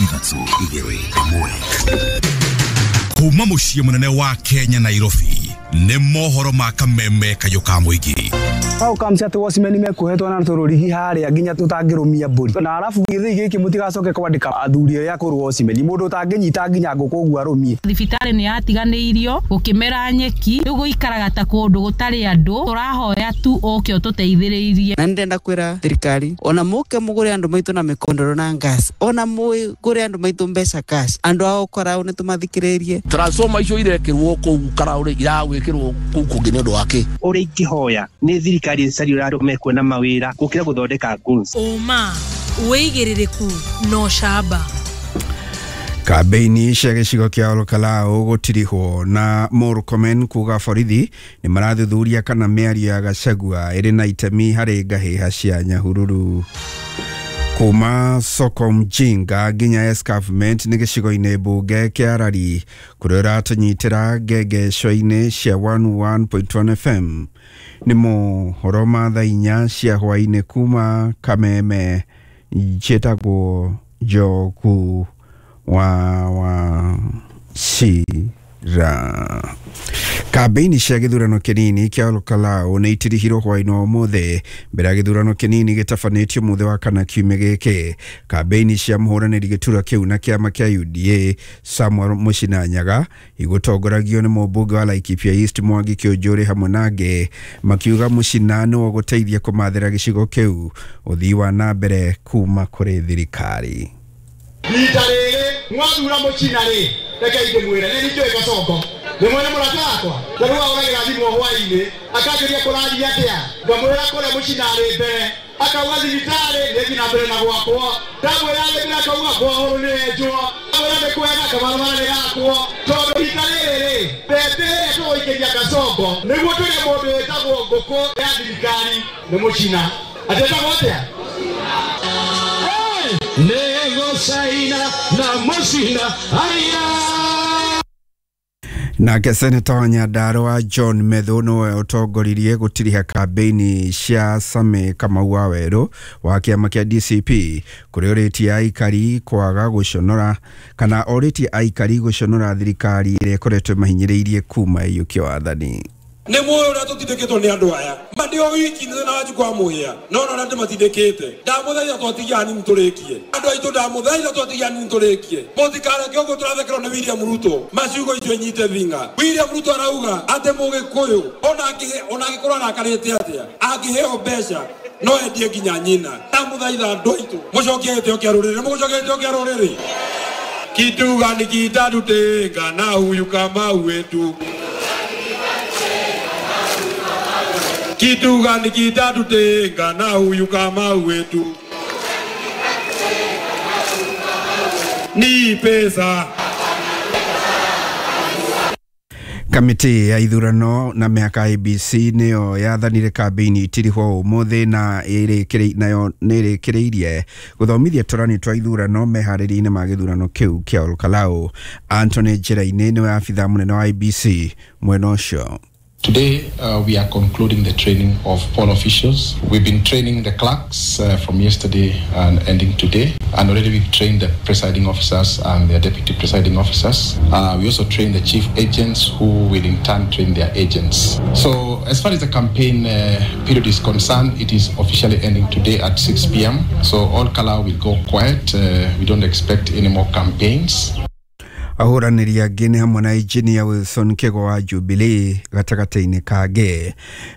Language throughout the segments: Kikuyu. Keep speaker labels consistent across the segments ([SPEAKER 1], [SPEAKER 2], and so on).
[SPEAKER 1] 3 2 1. Kuma muciĩ mũnene wa Kenya Nairobi nĩ mohoro ma kameme kayũ ka mũingĩ.
[SPEAKER 2] Hau kamcia atĩ watchman mekuohetwo na tũrũrigi harĩa nginya tũtangĩrũmia mbũri. Na arabu gĩthĩi gĩkĩ mũtigacoke kwandĩka athuri arĩa akũrũ watchman, mũndũ ũtangĩnyita nginya ngũkũ ũguo arũmie.
[SPEAKER 3] Thibitarĩ nĩ yatiganĩirio gũkĩmera nyeki, rĩu gũikaraga ta kũndũ gũtarĩ andũ, tũrahoya tu ũke ũtũteithĩrĩrie.
[SPEAKER 4] Na nĩndĩrenda kwĩra thirikari ona mũke mũgũre andũ maitũ na mĩkondoro na gas, ona mũgũre andũ maitũ mbeca cash, andũ ao Karau nĩ tũmathikĩrĩrie.
[SPEAKER 5] Transformer icio irekĩrwo kũu Karau rĩ, iragwĩkĩrwo kũu kũngĩ nĩ ũndũ wa kĩ?
[SPEAKER 6] Ũrĩa ingĩhoya nĩ thirikari ĩcarie ũrĩa andũ mekuona mawĩra gũkĩra gũthondeka goons.
[SPEAKER 7] Ũma, wĩigĩrĩrĩku na ũcamba.
[SPEAKER 8] Kambeini cia gĩcigo kĩa Olkalau gũtirihwo na Murkomen kuga borithi nĩ marathuthuria kana mĩario ya Gachagua ĩrĩ na itemi harĩ ngahĩha cia Nyahururu. Kuma soko mjinga nginya escarpment nĩ gĩcigo-inĩ mbunge kĩa Arari kũrĩa ũratũnyitĩra ngengeco-inĩ cia 101.1 FM. Nĩ mohoro ma thaa 4 cia hwaĩ-inĩ kuma Kameme. Njĩtagwo Njogu wa Wachira. Kambeini cia gĩthurano kĩnini kĩa Olkalau nĩ itirihirwo hwaĩ-inĩ wa ũmũthĩ mbere ya gĩthurano kĩnini gĩtabanĩtio mũthĩ wa kana kiumia gĩkĩ. Kambeini cia mũhũranĩri gĩturwa kĩu na kĩama kĩa UDA Samuel Mũcina Nyaga igũtongoragio nĩ mũmbunge wa Laikipia East Mwangi Kĩũnjũrĩ hamwe na angĩ makiuga Mũcina nĩwe ũgũteithia kũmathĩra gĩcigo kĩu ũthii wa na mbere kuma kũrĩ thirikari.
[SPEAKER 9] Rita rĩrĩ mwathura Mũcina rĩ, reke ndĩmwĩre nĩ njũĩ Kasongo nĩ mwene mũrata wakwa tarĩu ahũragĩra thimũ hwaĩ-inĩ akanjũria kũrathiĩ atĩa, ngamwĩra kũrĩa Mũcina arĩ mbere, akauga thibitarĩ nĩ na mbere na gwakwa, ndamwĩra arĩ mbere akauga borehole nĩ yenjwo, ndamwĩra nĩ kwega kabarabara nĩ gakwo, tondũ rita rĩrĩ rĩ mbembe ĩrĩa tũgũikĩria Kasongo nĩguo tũrĩe mũndũ wĩtagwo ngũkũ ya thirikari nĩ Mũcina. Atĩtagwo atĩa?
[SPEAKER 10] Negosaina na Mũcina aya.
[SPEAKER 8] Nake seneta wa Nyandarua John Methu nĩwe ũtongoririe gũtiriha kambeini cia Same Kamau wa Werũ wa kĩama kĩa DCP kũrĩa ũrĩtie aikari kwaga gũconora kana orĩtie aikari gũconora thirikari ĩrĩa ĩkoretwo ĩmahinyĩrĩirie kuma ĩiyũkio wathani.
[SPEAKER 11] Nĩ muoyo ũrĩa tũtindĩkĩtwo nĩ andũ aya ma ndĩ o wiki nĩ thĩna wa Njukũ wa Mũhĩa no ona ndĩmatindĩkĩte. Ndamũthaitha twatigia hanini tũrĩkie andũ aitũ, ndamũthaitha twatigia hanini tũrĩkie, mũtikareke ũguo tũrathekerwo nĩ William Ruto. Maciugo icio inyite thinga. William Ruto arauga atĩ mũgĩkũyũ ona angĩkorwo arakarĩte atĩa angĩheo mbeca no endie nginya nyina. Ndamũthaitha andũ aitũ mũcokie gĩtĩo kĩa rũrĩrĩ, mũgũcokia gĩtĩo kĩa rũrĩrĩ. Kitu gani kitatutenga na huyu Kamau wetu? Kitu gani kitatutenga na huyu Kamau wetu? Ni pesa.
[SPEAKER 8] Kamĩtĩ ya ithurano na mĩhaka IEBC nĩyo yathanire kambeini itirihwo ũmũthĩ na nayo nĩ ĩrĩkĩrĩirie gũthomithia tũrani twa ithurano meharĩria-inĩ ma gĩthurano kĩu kĩa Olkalau. Anthony Njĩra-inĩ nĩwe abithaa mũnene wa IEBC mwena ũcio.
[SPEAKER 12] Today, we are concluding the training of poll officials. We've been training the clerks from yesterday and ending today. And already we've trained the presiding officers and their deputy presiding officers. We also trained the chief agents who will in turn train their agents. So as far as the campaign period is concerned, it is officially ending today at 6 p.m. So all Kalau will go quiet. We don't expect any more campaigns.
[SPEAKER 8] Ahũranĩri angĩ nĩ hamwe na Engineer Wilson Kĩgo wa Jubilee gatagatĩ-inĩ kangĩ.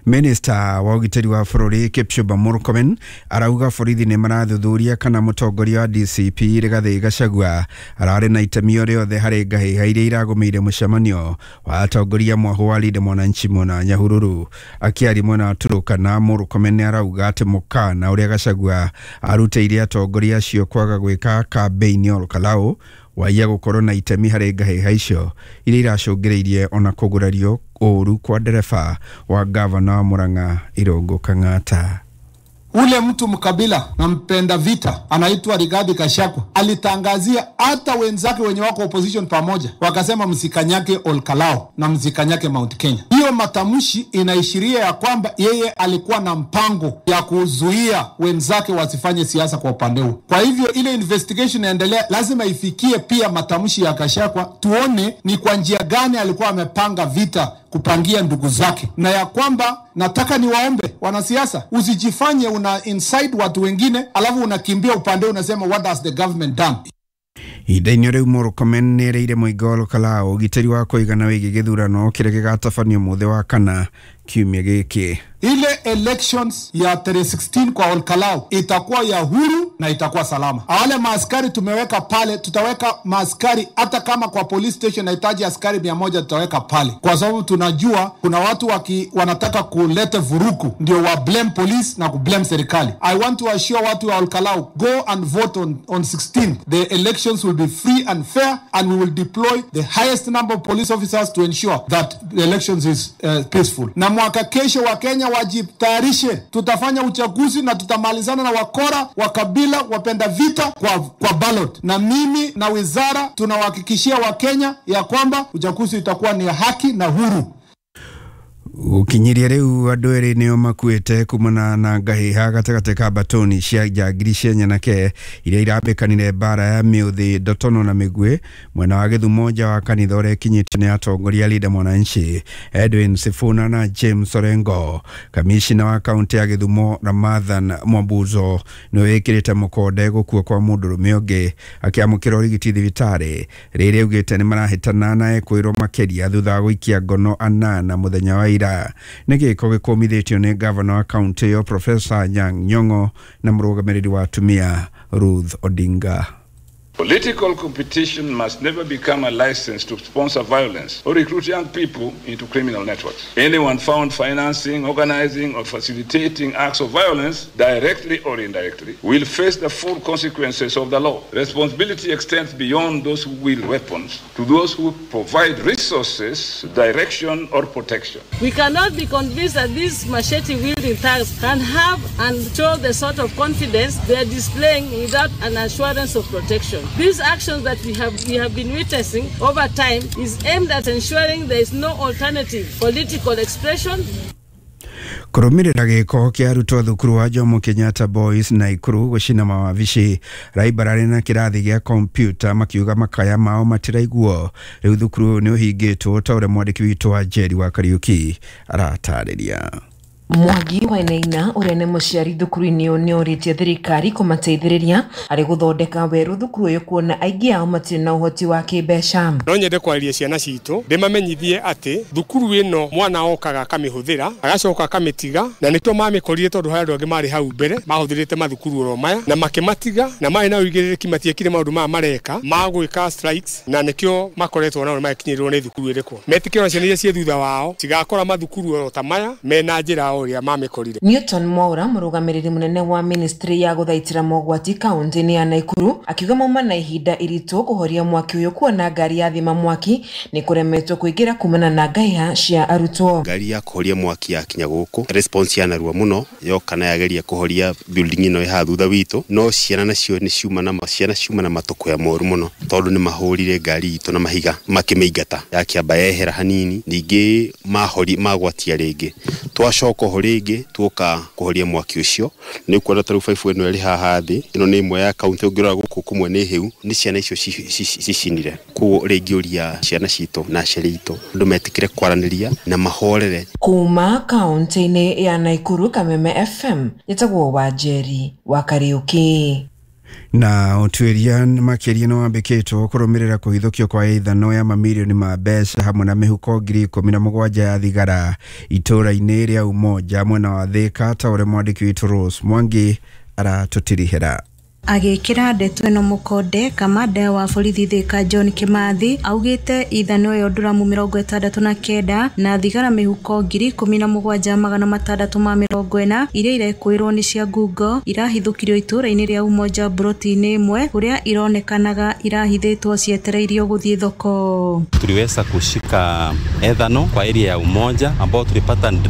[SPEAKER 8] Minister wa ũgitĩri wa bũrũri Kipchumba Murkomen arauga borithi nĩ marathuthuria kana mũtongoria wa DCP Rigathĩ Gachagua ararĩ na itemi o rĩothe harĩ ngahĩha iria iragũmĩire mũcemanio wa atongoria mwahũ wa Linda Mwananchi mwena Nyahururu. Akĩaria mwena wa Turukana, Murkomen nĩ arauga atĩ mũkana ũrĩa Gachagua arutĩire atongoria acio kwaga gwĩka kambeini Olkalau waiya gũkorwo na itemi harĩ ngahĩha icio iria iracũngĩrĩirie ona kũgurario ũru kwa ndereba wa gavana wa Murang'a Irũngũ Kang'ata.
[SPEAKER 13] Ule mtu mkabila na mpenda vita anaitwa Rigathi Gachagua alitangazia hata wenzake wenye wako opposition pamoja, wakasema msikanyake Olkalou na msikanyake Mount Kenya. Hiyo matamshi inaishiria ya kwamba yeye alikuwa na mpango ya kuzuia wenzake wasifanye siasa kwa upande huo. Kwa hivyo ile investigation inaendelea, lazima ifikie pia matamshi ya Gachagua, tuone ni kwa njia gani alikuwa amepanga vita kupangia ndugu zake, na ya kwamba nataka niwaombe wanasiasa, usijifanye una inside watu wengine alafu unakimbia upande unasema what has the government done.
[SPEAKER 8] Ihinda-inĩ rĩu Murkomen nĩerĩire mũingĩ wa Olkalou ũgitĩri wa kũigana wĩgiĩ gĩthurano kĩrĩa gĩgatabanio mũthĩ wa kana kiumia gĩkĩ.
[SPEAKER 13] Ile elections ya tarehe 16 kwa Olkalou itakuwa ya huru na itakuwa salama. Wale maaskari tumeweka pale, tutaweka maaskari hata kama kwa police station nahitaji askari 100 tutaweka pale, kwa sababu tunajua kuna watu wanataka kuleta vurugu, ndio wa blame police na ku blame serikali. I want to assure watu wa Olkalou, go and vote on 16. The elections will be free and fair, and we will deploy the highest number of police officers to ensure that the elections is peaceful. Na mwaka kesho wa Kenya wajitayarishe, tutafanya uchaguzi na tutamalizana na wakora wa kabila wapenda vita kwa ballot. Na mimi na wizara tunawahakikishia Wakenya ya kwamba uchaguzi utakuwa ni haki na huru.
[SPEAKER 8] Ukinyiria riu andu eri nio makuite kumana na ngahiha gatagati ka batoni cia njangiri cia nyanake iria irambĩkanire mbara ya mĩũthĩ ndotono na mĩguĩ mwena wa Gĩthumo nja wa kanitha ũrĩa ĩkinyĩtio nĩ atongoria Linda Mwananchi Edwin Sifuna na James Orengo. Kamishina wa kaunti ya Gĩthumo Ramadhan Mwambuzo nĩwe wĩkĩrĩte mũkonde gũkua kwa mũndũrũme ũngĩ akĩamũkĩra ũrigiti thibitarĩ rĩrĩa augĩte nĩ marahĩtana na ekwĩrwo makĩria thutha wa gũikia ngono anana mũthenya wa ira. Nĩ gĩko gĩkũmithĩtio nĩ gavana wa kaunti ĩyo Profesa Anyang' Nyong'o na mũrũgamĩrĩri wa atumia Ruth Odinga.
[SPEAKER 14] Political competition must never become a license to sponsor violence or recruit young people into criminal networks. Anyone found financing, organizing, or facilitating acts of violence, directly or indirectly, will face the full consequences of the law. Responsibility extends beyond those who wield weapons to those who provide resources, direction, or protection.
[SPEAKER 15] We cannot be convinced that these machete-wielding thugs can have and show the sort of confidence they are displaying without an assurance of protection. These actions that we have been witnessing over time is aimed at ensuring there is no alternative political expression.
[SPEAKER 8] Kũrũmĩrĩra gĩko kĩa arutwo thukuru wa Jomo Kenyatta Boys Naikuru gũcina mawabici raibararĩ na kĩrathi gĩa kompyuta makiuga makaya mao matiraiguo. Rĩu thukuru ũyũ nĩ ũhingĩtwo ta ũrĩa mwandĩki witũ wa Njeri wa Kariuki aratarĩria.
[SPEAKER 16] Mwangi Wainaina ũrĩa nĩ mũciari thukuru-inĩ ũyũ nĩ orĩtie thirikari kũmateithĩrĩria harĩ gũthondeka werũ thukuru ũyũ kuona aingĩ ao matirĩ na ũhoti wa kĩmbeca.
[SPEAKER 17] No nyende kwariria ciana citũ ndĩmamenyithie atĩ thukuru ĩno mwana okaga akamĩhũthĩra agacoka akamĩtiga, na nĩkĩo mamĩkorire tondũ harĩ andũ angĩ marĩ hau mbere mahũthĩrĩte mathukuru oro maya na makĩmatiga, na marĩ na ũigĩrĩrĩki matiekire maũndũ maya mareka ma gwĩka strikes, na nĩkĩo makoretwo nao magĩkinyĩrĩrwo nĩ thukuru ĩrĩkũ. Metĩkĩrwo ciana iria ciĩ thutha wao cigakora mathukuru oro ta maya mena njĩra ũrĩa mamĩkorire.
[SPEAKER 16] Newton Mwaura mũrũgamĩrĩri mũnene wa ministry ya gũthaitĩra mogwati kaunti-inĩ ya Naikuru akiuga mauma na ihinda iritũ kũhoria mwaki ũyũ kuona ngari ya thima mwaki nĩ kũremetwo kũingĩra kumana na ngaiha cia arutwo.
[SPEAKER 18] Ngari ya kũhoria mwaki yakinya gũkũ response ya narua mũno yoka na yageria kũhoria building ĩno ĩhaha thutha witũ, no ciana nacio nĩ ciuma na ciana ciuma na matũkũya moru mũno tondũ nĩ mahũrire ngari itũ na mahiga makĩmĩingata yakĩamba yehera hanini, ningĩ mahori magwatia rĩngĩ twacoka oho rĩngĩ tuoka kũhoria mwaki ũcio. Nĩ ũkuona ta rĩu baibũ ĩno ĩrĩ haha thĩ, ĩno nĩ ĩmwe ya kaunti ũngĩrora gũkũ kũmwe nĩ hĩu, nĩ ciana icio cicinire. Koguo rĩngĩ ũria ciana citũ na aciari aitũ andũ metĩkĩre kwaranĩria na mahorere.
[SPEAKER 16] Kuma kaunti-inĩ ya Naikuru, Kameme FM, njĩtagwo Wanjeri wa Kariuki.
[SPEAKER 8] Na ũtuĩria makĩria nĩ wambĩkĩtwo kũrũmĩrĩra kũhithũkio kwa ithano ya mamirioni ma mbeca hamwe na mĩhuko 17,000 ya thigara itũũra-inĩ rĩa Umoja mwena wa Thika ta ũrĩa mwandĩki witũ Rose Mwangi aratũtirihĩra.
[SPEAKER 19] Agĩkĩra ndeto ĩno mũkonde, kamanda wa borithi Thika John Kimathi augĩte ithano ĩyo nduramu 69 na thigara mĩhuko 17,640 iria irekũĩrwo nĩ cia ngungo irahithũkirio itũũra-inĩ rĩa Umoja broti-inĩ ĩmwe kũrĩa ironekanaga irahithĩtwo cietereirio gũthiĩ thoko.
[SPEAKER 20] Tuliweza kushika ethano kwa area ya Umoja ambao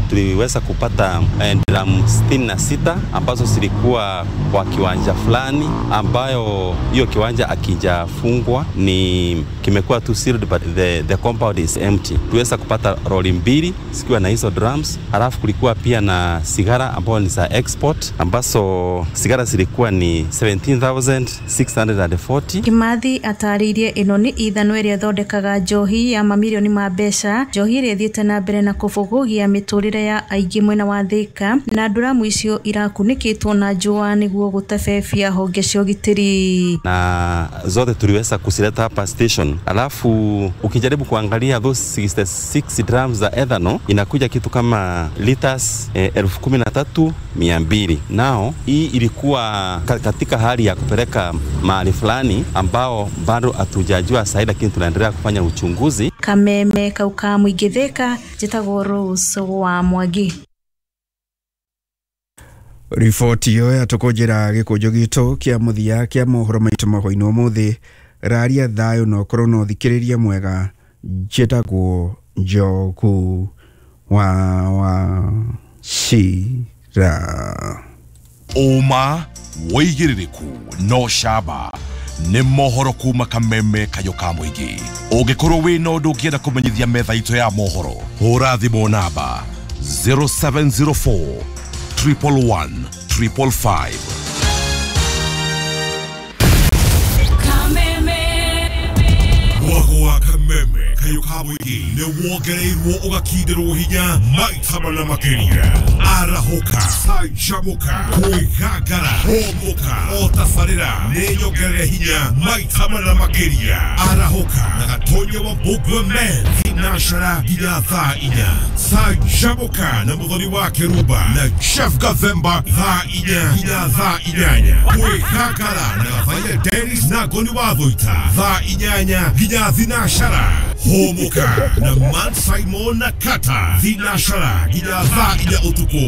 [SPEAKER 20] tuliweza kupata dramu 66 ambazo zilikuwa kwa kiwanja fulani ambayo hiyo kiwanja akijafungwa ni kimekuwa tu sealed but the compound is empty. Tuliweza kupata roli 2 zikiwa na hizo drums, halafu kulikuwa pia na sigara ambayo ni za export ambazo sigara zilikuwa ni 17,640.
[SPEAKER 19] Kimathi atarĩirie ĩno nĩ ithano ĩrĩa ĩthondekaga njohi ya mamirioni ma mbeca, njohi ĩrĩa ĩthiĩte na mbere na kũbũgũgia mĩtũrĩre ya aingĩ mwena wa Thika, na nduramu icio irakunĩkĩtwo na njũa nĩguo gũtebebia honge cia ũgitĩri.
[SPEAKER 20] Na zote tuliweza kuzileta hapa station. Alafu ukijaribu kuangalia those 66 drums za ethanol inakuja kitu kama liters 13,200. Nao hii ilikuwa katika hali ya kupeleka mahali fulani ambao bado hatujajua sahi, lakini tunaendelea kufanya uchunguzi.
[SPEAKER 19] Kameme kauka mũingĩ Thika, njĩtagwo Rose wa Mwangi.
[SPEAKER 8] Riboti ĩyo yatũkũnjĩra gĩkũnjo gitũ kĩa mũthia kĩa mohoro maitũ mahwainĩ ũmũthĩ. Raria thayũ na ũkorwo na ũthikĩrĩria mwega. Njĩtagwo Njogu wa Wachira.
[SPEAKER 1] Ũma wĩigĩrĩrĩku no camba nĩ mohoro kuma kameme kayũ ka mũingĩ. Ũngĩkorwo wĩna ũndũ ũngĩenda kũmenyithia metha itũ ya mohoro, hũra thimũ namba 0704 111 555. Mwago wa kameme kayũ ka mũingĩ nĩ wongereirwo ũgakindĩrwo hinya maita mana makĩria. Arahũka, canjamũka, kwĩgangara, hũmũka, o tabarĩra nĩ nyongerere hinya maita mana makĩria. Arahũka na Gatonya wa Mbũgua Men thinashara nginya thaa 4. Canjamũka na Mũthoni wa Kĩrumba na Chef Gathemba thaa 4 nginya thaa 8. Kwĩgangara na Gathaiya Dennis na Ngoni wa Thũita thaa 8 nginya thinashara. Hũmũka na Man Simon na Kata thinashara nginya thaa 4 ũtukũ.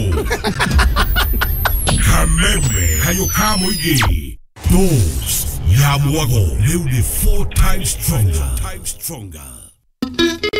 [SPEAKER 1] Kameme kayũ ka mũingĩ, dose ya mwago rĩu nĩ 4 times stronger.